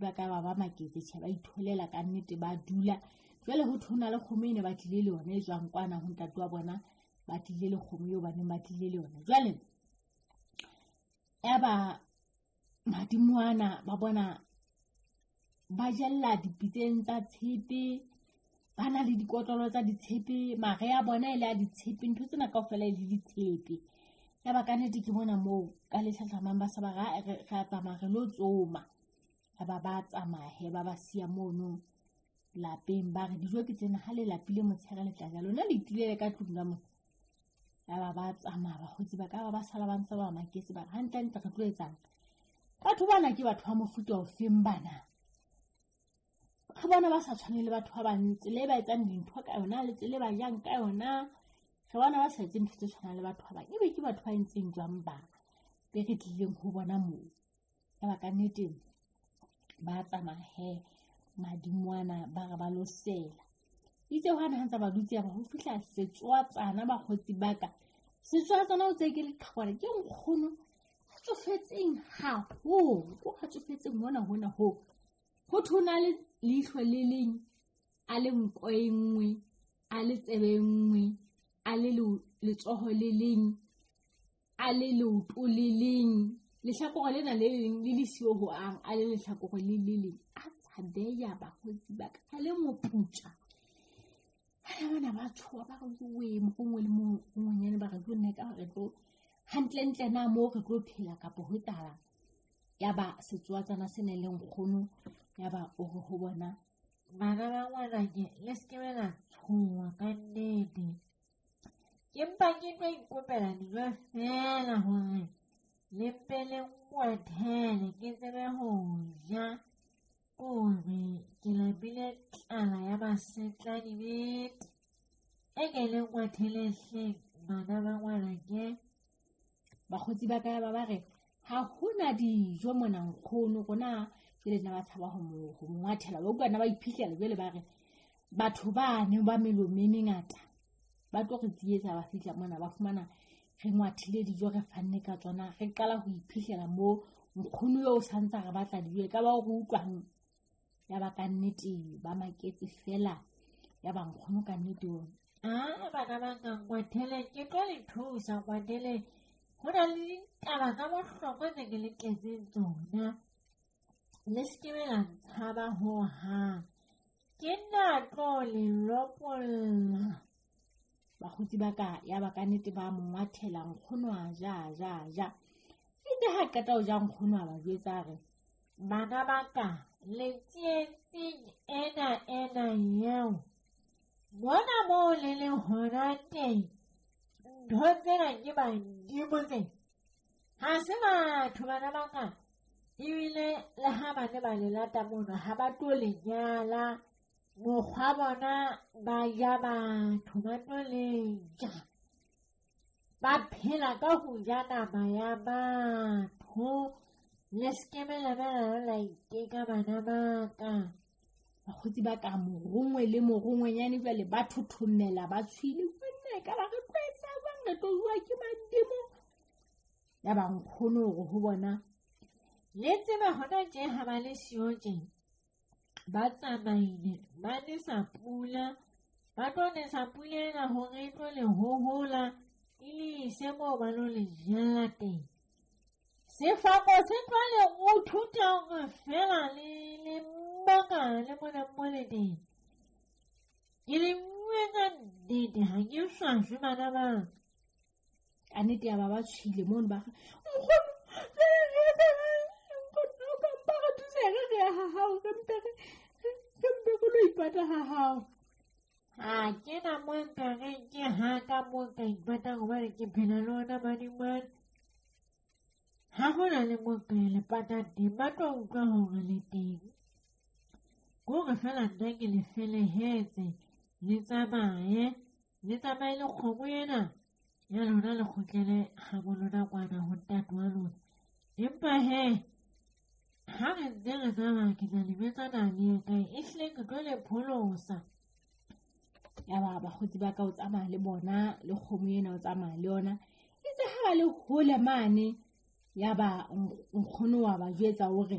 ba ka ba ba maketse, tjhe, ba itholela ka nnete, ba dula. Jwale ho thwe ho na le kgomo e ne ba tlile le yona e tswang kwana ho ntate wa bona, ba tlile le kgomo eo ba neng ba tlile le yona. Jwale yaba madimo ana ba bona ba jella dipitseng tsa tshepe, ba na le dikotlolo tsa ditshepe, mare a bona e le a ditshepe, ntho tsena kaofela e le ditshepe. Yaba ka nnete ke bona moo ka le hlahlamang ba se ba re, re a tsamaya re lo tsoma. Yaba ba tsamaya he, ba ba siya mono lapeng, ba re dijo ke tsena, ha le lapile motshehare le tla ja, lona le itulele ka tlung ka mona. Yaba ba tsamaya bakgotsi ba ka, ba ba sala ba ntse ba maketse, ba re hantlentle re tlo etsang? Batho bana ke batho ba mofuta ofeng bana? Re bona ba sa tshwane le batho ba bang, tsela e ba etsang dintho ka yona le tsela e ba jang ka yona, re bona ba sa etse ntho tse tshwanang le batho ba bang. Ebe ke batho ba entseng jwang ba be re tlileng ho bona moo? Yaba ka nnete ba tsamaya he madingwana, ba re ba lo sela. Itse hwane ha ntse ba dutse, yaba ho fihla setswatsana bakgotsi ba ka. Setswatsana o tse ke leqhekwana, ke nkgono a tsofetseng haholo, ko a tsofetseng hona hona ho. Ho thwe ho na le leihlo le leng, a le nko e nngwe, a le tsebe e nngwe, a le letsoho le leng, a le leoto le leng, lehlakore lena le leng le le siyo ho ang, a le lehlakore le le leng. A tshabeya bakgotsi ba ka, a le moputja. Bana bana ba tshoha, ba re jowe, morongwe le mongwenyane ba re jo nna ekaba re tlo hantlentle na moo re tlo phela kapa ho etsahalang. Yaba setswatsana se nang le nkgono, yaba o re ho bona, bana ba ngwanake, le se ke la tshoha ka nnete. Ke mpa ke tlo ikopela dijo feela hore le mpe le nngwathele ke tsebe ho ja, hore ke lapile tlala ya masetladibete. E ke le nngwathele hleng bana ba ngwanake. Bakgotsi ba ka ba ba re ha hona dijo mona nkgono, rona jwale nna ba tshaba ho mo ngwathela, ba utlwa nna ba iphihlela. Jwale ba re batho ba ne ba melomo e mengata ba tlo re tsietsa, ba fihla mona ba fumana re ngwathile dijo, re fanne ka tsona, re qala ho iphihlela moo nkgono eo o santsa re batla dijo, e ka ba o re utlwang. Yaba ka nnete ba maketse fela, yaba nkgono ka nnete o Ah, bana ba ka ngwathele, ke tlo le thusa ngwathele. Ho na le ditaba tsa bohlokwa tse ke le tletseng tsona. Le se ke be la ntshaba hohang. Ke nna tlo le lopolla. Bakgotsi ba ka yaba ka nnete ba mo ngwathela, nkgono a ja, ja, ja. Itse ha qeta ho ja, nkgono a ba jwetsa a re, bana ba ka, le tsietsing ena ena eo, mona moo le leng hona teng, ntho tsena ke badimo tse. Ha se batho bana ba ka, ebile le ha ba ne ba le lata mono, ha ba tlo le nyala. Mokgwa bona ba ja batho, ba tlo le ja. Ba phela ka ho ja nama ya batho. Le se ke be la ba la iteka bana ba ka. Bakgotsi ba ka morongwe le morongwenyane jwale ba thothomela, ba tshwile. Banna, e ka ba re tlo etsa jwang, re tlo jowa ke badimo. Yaba nkgono hore ho bona, le tseba hona tje ha ba le siyo tje, ba tsamaile, ba nesa pula, ba tlo nesa pula ena hore e tlo le hohola, e le ise moo ba lo le jella teng. Sefako se tlo le ruthuta hore fela le le maka le mona mo le teng. Ke le bue ka nnete, ha ke swaswe bana ba ka. Ka nnete ya ba ba tshwile mono, ba re, nkgono, jwale re etsa jwang? Nkgono, o ka mpa re thusa re re ya ha hao, re mpe re, re mpe re lo ipata ha hao. Ha ke na mo nka reng ke ha ka mo nka ipatang hobane ke phela le ona madimane. Ha ho na le mo nka le patang teng, ba tlo utlwa hore le teng. Ke hore feela nna ke le felehetse, le tsamaye, le tsamaye le kgomo ena ya lona, le kgutlele habo lona kwana ho ntate wa lona. Empa he, ha re ntse re tsamaya, ke tla le jwetsa na le ye kae, ehlile ke tlo le pholosa. Yaba bakgotsi ba ka o tsamaya le bona, le kgomo ena o tsamaya le yona. Itse ha ba le hole mane, yaba nkgono wa ba jwetsa hore